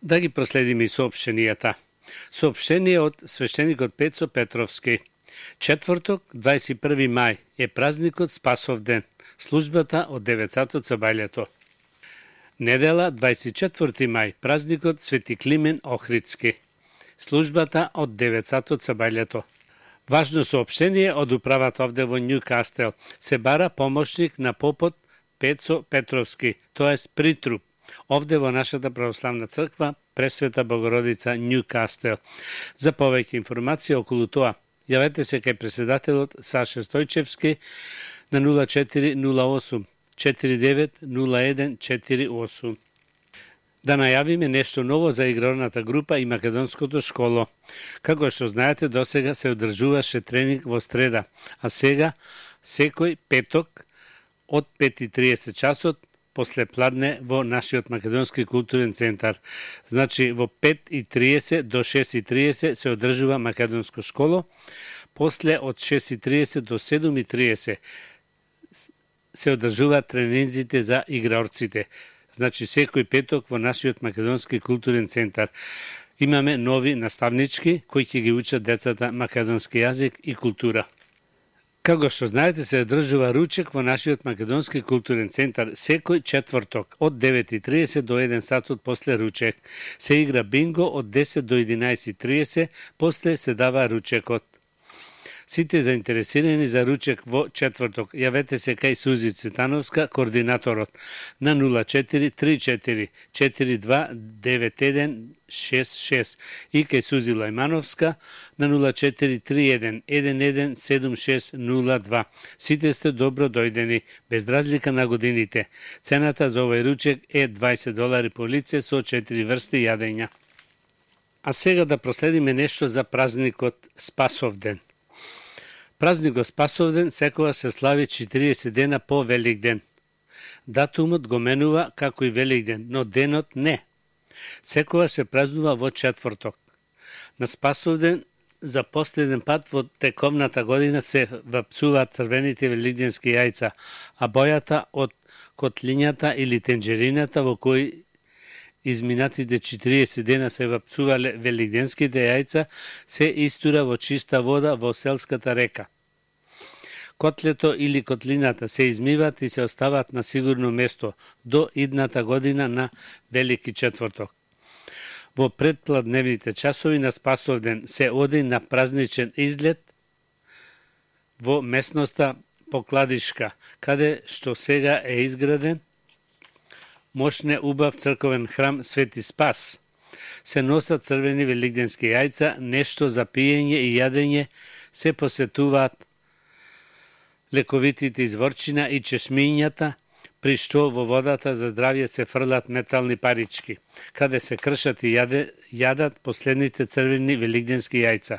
Да ги проследиме и соопштенијата. Соопштение од свештеникот Пецо Петровски. Четврток, 21 мај, е празникот Спасовден, службата од 9 сатот со бајлето. Недела, 24 мај, празникот Свети Климен Охридски, службата од 9 сатот со бајлето. Важно соопштение од управата овде во Њукастел. Се бара помошник на попот Пецо Петровски, тоест притруп, овде во нашата православна црква Пресвета Богородица Њукастел. За повеќе информација околу тоа, јавете се кај председателот Саша Стојчевски на 0408 490148. Да најавиме нешто ново за игралната група и македонското школо. Како што знаете, досега се одржуваше тренинг во среда, а сега секој петок од 5:30 часот после пладне во нашиот македонски културен центар. Значи во 5:30 до 6:30 се одржува македонско школо, после од 6:30 до 7:30 се одржуваат тренинзите за играорците. Значи секој петок во нашиот македонски културен центар. Имаме нови наставнички кои ќе ги учат децата македонски јазик и култура. Како што знаете, се одржува ручек во нашиот македонски културен центар секој четврток од 9:30 до 1 сатот после ручек. Се игра бинго од 10 до 11:30, после се дава ручекот. Сите заинтересирани за ручек во четврток, јавете се кај Сузи Цветановска, координаторот, на 0434 429166 и кај Сузи Лајмановска на 0431 117602. Сите сте добро дојдени, без разлика на годините. Цената за овој ручек е $20 по лице со 4 врсти јадења. А сега да проследиме нешто за празникот Спасовден. Празникот Спасовден секогаш се слави 40 дена по Великден. Датумот го менува како и Великден, но денот не. Секогаш се празнува во четврток. На Спасовден за последен пат во тековната година се вапцуваат црвените великденски јајца, а бојата од котлињата или тенџерината во кои изминатите 40 дена се вапцувале великденските јајца, се истура во чиста вода во селската река. Котлето или котлината се измиват и се остават на сигурно место до идната година на Велики четврток. Во предпладневните часови на Спасовден се оди на празничен излет во местноста Покладишка, каде што сега е изграден мощне убав црковен храм Свети Спас. Се носат црвени великденски јајца, нешто за пиење и јадење, се посетуваат лековитите изворчина и чешмињата, при што во водата за здравје се фрлат метални парички, каде се кршат и јадат последните црвени великденски јајца.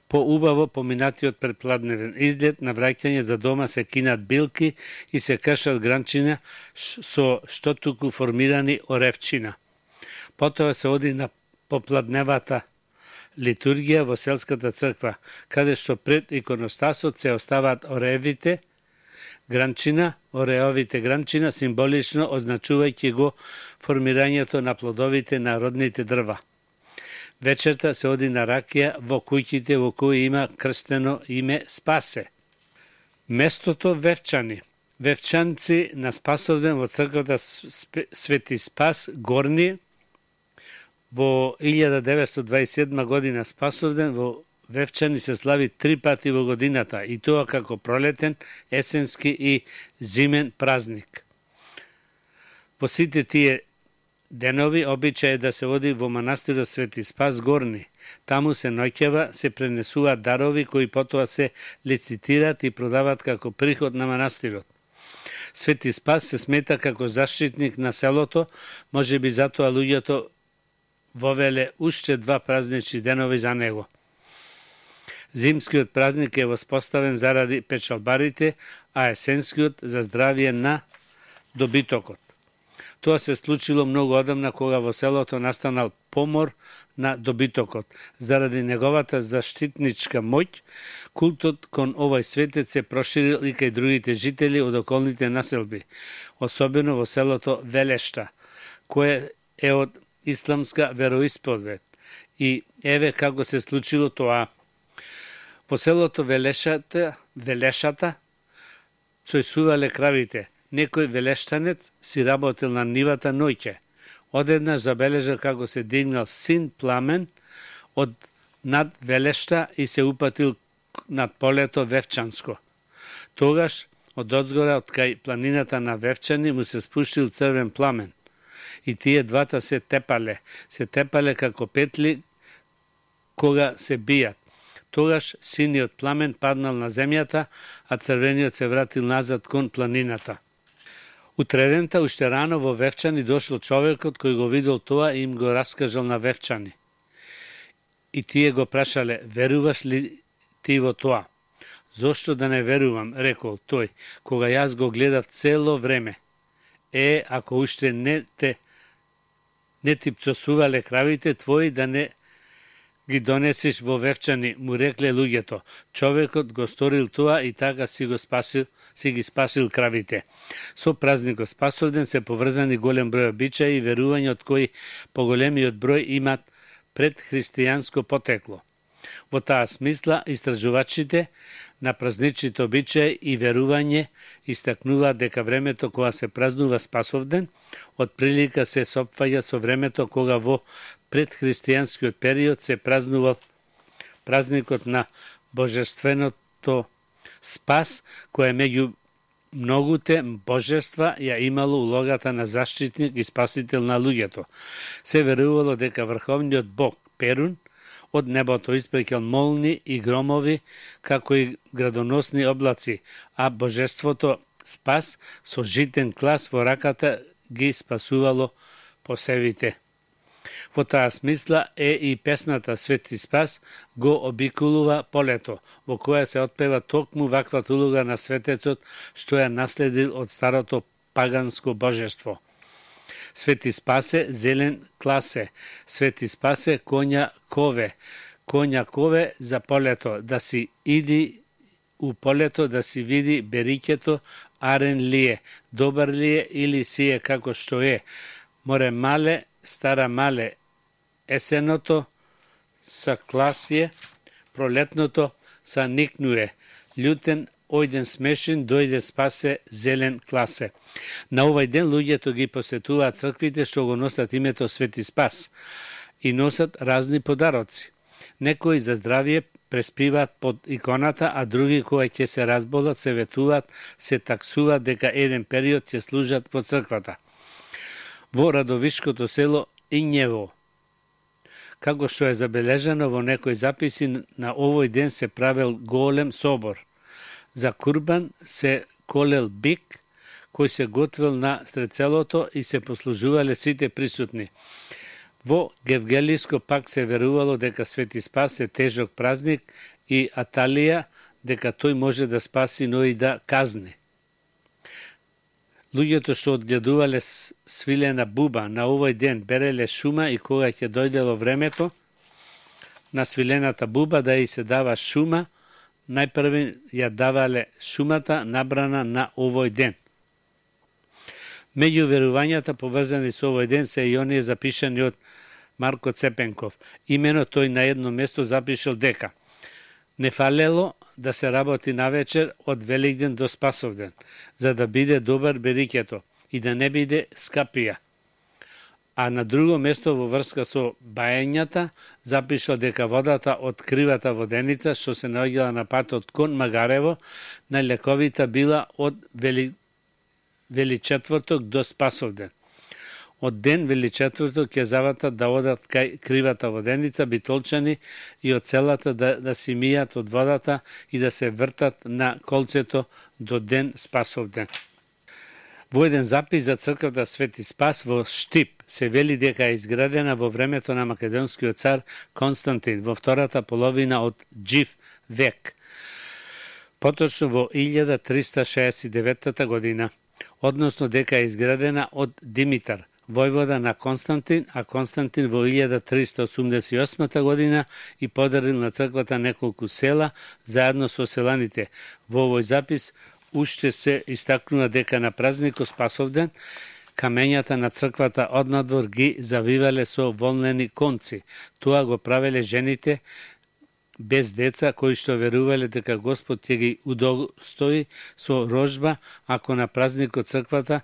По убаво поминатиот предпладневен излет на враќање за дома се кинат билки и се кршат гранчина со штотуку формирани оревчина. Потоа се оди на попладневата литургија во селската црква, каде што пред иконостасот се оставаат оревите гранчина, ореовите гранчина символично означувајќи го формирањето на плодовите на родните дрва. Вечерта се оди на ракија во куќите во кои има крстено име Спасе. Местото Вевчани. Вевчанци на Спасовден во црквата Свети Спас Горни во 1927 година. Спасовден во Вевчани се слави 3 пати во годината, и тоа како пролетен, есенски и зимен празник. Во сите тие денови обичај е да се оди во манастирот Свети Спас Горни. Таму се ноќева, се пренесуваат дарови кои потоа се лицитираат и продаваат како приход на манастирот. Свети Спас се смета како заштитник на селото, можеби затоа луѓето вовеле уште 2 празнични денови за него. Зимскиот празник е воспоставен заради печалбарите, а есенскиот за здравје на добитокот. Тоа се случило многу одамна кога во селото настанал помор на добитокот. Заради неговата заштитничка моќ, култот кон овој светец се проширил и кај другите жители од околните населби, особено во селото Велешта, кое е од исламска вероисповед. И еве како се случило тоа. По селото Велешата цојсувале кравите. Некој велештанец си работел на нивата ноќе. Одеднаш забележал како се дигнал син пламен од над Велешта и се упатил над полето Вевчанско. Тогаш од одзгора од кај планината на Вевчани му се спуштил црвен пламен. И тие двата се тепале како петли кога се бијат. Тогаш синиот пламен паднал на земјата, а црвениот се вратил назад кон планината. Утредента, уште рано во Вевчани дошол човекот кој го видел тоа и им го раскажал на Вевчани. И тие го прашале, веруваш ли ти во тоа? Зошто да не верувам, рекол тој, кога јас го гледав цело време. Ако уште не ти пцосувале кравите твои, да не ги донесиш во Вевчани, му рекле луѓето. Човекот го сторил тоа и така си ги спасил кравите. Со празникот Спасовден се поврзани голем број обичаи и верувања од кои поголемиот број имат предхристијанско потекло. Во таа смисла, истражувачите на празничните обичаи и верување истакнуваат дека времето кога се празнува Спасовден, од прилика се сопфаќа со времето кога во предхристијанскиот период се празнувал празникот на Божественото Спас, кој меѓу многуте божества ја имало улогата на заштитник и спасител на луѓето. Се верувало дека врховниот бог Перун од небото испреќал молни и громови, како и градоносни облаци, а божеството Спас со житен клас во раката ги спасувало посевите. Во таа смисла и песната Свети Спас го обиколува полето, во која се отпева токму ваквата улога на светецот што ја наследил од старото паганско божество. Свети Спасе, зелен класе, Свети Спасе, коња кове за полето, да си иди у полето да си види бериќето, арен ли е, добар ли е или си е како што е, море мале, стара мале, есеното са класие, пролетното са никнуе, љутен, ојден смешен, дојде Спасе, зелен класе. На овој ден луѓето ги посетуваат црквите што го носат името Свети Спас и носат разни подароци. Некои за здравје преспиваат под иконата, а други кои ќе се разболат, се ветуваат, се таксуваат дека еден период ќе служат во црквата. Во Радовишкото село Ињево, како што е забележано во некои записи, на овој ден се правел голем собор. За курбан се колел бик, кој се готвел на стрецелото и се послужувале сите присутни. Во Гевгелиско пак се верувало дека Свети Спас е тежок празник и Аталија дека тој може да спаси, но и да казни. Луѓето што одгледувале свилена буба на овој ден береле шума и кога ќе дојдело времето на свилената буба да и се дава шума, најпрви ја давале шумата набрана на овој ден. Меѓу верувањата поврзани со овој ден се и оние запишани од Марко Цепенков. Имено тој на едно место запишал дека не фалело да се работи навечер од Великден до Спасовден, за да биде добар бериќето и да не биде скапија. А на друго место во врска со баењата запишал дека водата од кривата воденица што се наоѓала на патот кон Магарево најлековита била од Величетврток до Спасовден. Од ден Величетврток ќе заватат да одат кај кривата воденица битолчани и од селата да си мијат од водата и да се вртат на колцето до ден Спасовден. Во еден запис за црквата Свети Спас во Штип се вели дека е изградена во времето на македонскиот цар Константин во втората половина од Џив век, поточно во 1369 година, односно дека е изградена од Димитар, војвода на Константин, а Константин во 1388 година и подарил на црквата неколку села заедно со селаните. Во овој запис уште се истакнува дека на празникот Спасовден Камењата на црквата однадвор ги завивале со волнени конци. Тоа го правеле жените без деца кои што верувале дека Господ ќе ги удостои со рожба ако на празникот црквата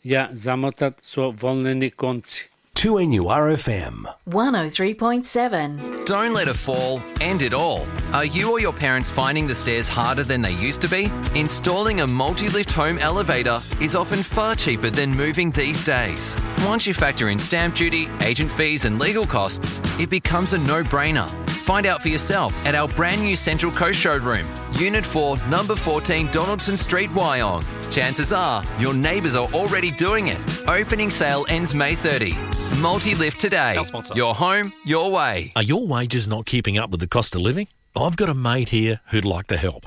ја замотат со волнени конци. 2NURFM 103.7. Don't let a fall end it all. Are you or your parents finding the stairs harder than they used to be? Installing a multi-lift home elevator is often far cheaper than moving these days. Once you factor in stamp duty, agent fees and legal costs, it becomes a no-brainer. Find out for yourself at our brand new Central Coast showroom, Unit 4, number 14 Donaldson Street, Wyong. Chances are your neighbours are already doing it. Opening sale ends May 30. Multi-lift today. Your home, your way. Are your wages not keeping up with the cost of living? I've got a mate here who'd like to help.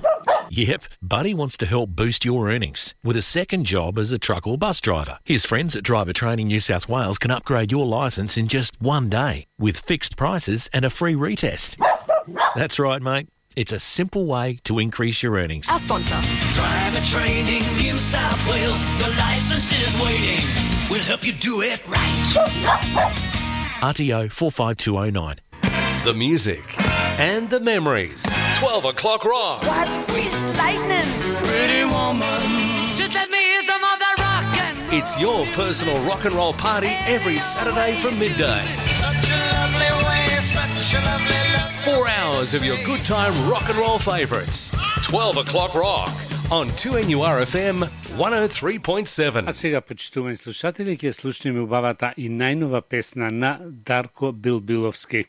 Yep, Buddy wants to help boost your earnings with a second job as a truck or bus driver. His friends at Driver Training New South Wales can upgrade your licence in just one day with fixed prices and a free retest. That's right, mate. It's a simple way to increase your earnings. Our sponsor. Driver Training New South Wales. Your license is waiting. We'll help you do it right. RTO 45209. The music and the memories. 12 o'clock rock. What's Priest Lightning? Pretty woman. Just let me hear some of the rockin'. It's your personal rock and roll party every Saturday from midday. Such a lovely way, such a lovely love. 4 hours of your good time rock and roll favourites. 12 o'clock rock on 2NURFM 103.7. А сега, почитувани слушатели, ќе слушнеме убавата и најнова песна на Дарко Билбиловски.